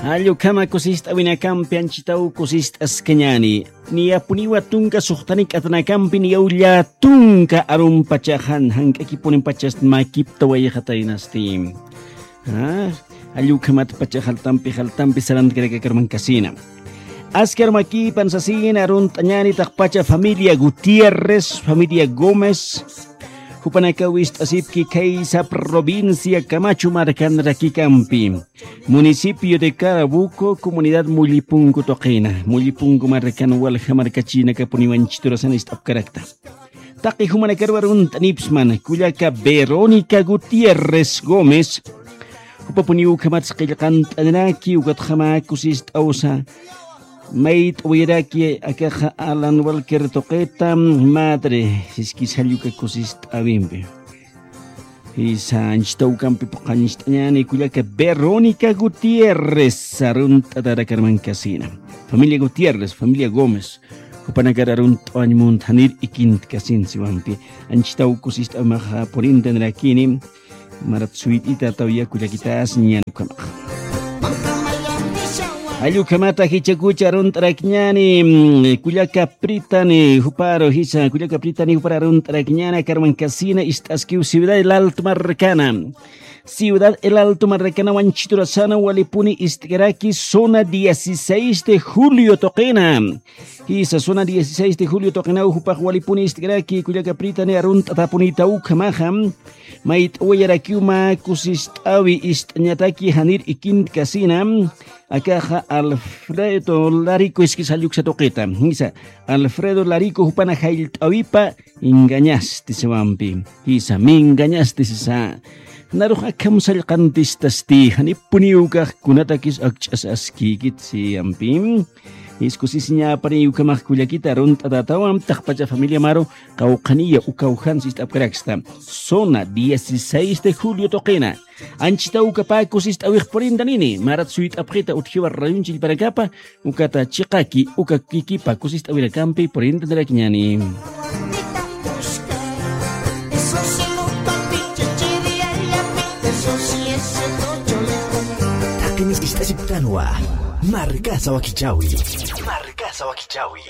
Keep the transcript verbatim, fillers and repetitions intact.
Allukhama kusist'awinakampi anchitaw kusist'askañäni. Niyapuniwa tunka suxtanik'atanakampi niyaw llätunka arumpachaxan jank'akipunipachast makiptawayxataynasti. Allukhamat pacha jaltampi jaltampi sarantkarakarmankasina. Askar makipan sasina arunt'añäni taqpacha familia Gutiérrez, familia Gómez, jupanakaw ist'asipki khaysa provincia Camacho markanrakikampi, municipio de Carabuco, comunidad Mullipunku tuqina. Mullipunku markan walja markachinakapuniw anchiturasan ist'apkarakta. Taqi jumanakaruw arunt'anipsman kullaka Verónica Gutiérrez Gómez, jupapuniw ukhamatsa qillqant'aniraki ukatxama kusist'awsa mayt'awiraki akaxa Alan Walker tuqita, madre, siskis jalluka kusist'awimpi. Jisa anchitaw ukampi puqancht'añäni kullaka Verónica Gutiérrez arunt'atarakarmankasina. Familia Gutiérrez, familia Gómez, jupanakar arunt'awañ munthanir ikintkasin siwampi. Anchitaw kusist'awmaxa purintanrakini. Marat suyt'ita tawya kullakitas ñan ukhamax. Allukhamata jichakucha arunt'arakñäni, mm, kullaka Pritani juparu jisa, kullaka Pritani jupar arunt'arakñäni akarmankasina ist'askiw Ciudad El Alto markana. Ciudad El Alto markana wanchiturasana walipuni ist'karaki zona dieciséis de julio tuqina. Jisa zona dieciséis de julio tuqinaw jupax walipuni ist'karaki kullaka Pritani arunt'atapunita ukhamaxa. Mayt'awayarakiw mä kusist'awi ist'añataki janir ikintkasina. Akaxa Alfredo Larico iskis jalluksa tuqita. Jisa Alfredo Larico jupana jallt'awipa engañasti siwampi. Jisa me engañasti sisa. Narux akham sallqantistasti janipuniw ukax kunatakis akch'as askïkit siyampi. Iskusisiñäpaniy ukhamax kullakita arunt'atatawan taqpacha familia maru qawqhaniya ukawjan sist'apkaraksta. Zona dieciséis de julio tuqina. Anchita ukapä kusist'awix purintanini marat suyt'apxita utjiwa rayunchillpanakapa. Ukata chiqaki uka kikipa kusist'awirakampi purintanirakiñäni. Taqi ist'asiptanwa. Markasa wakichawi. Markasa wakichawi.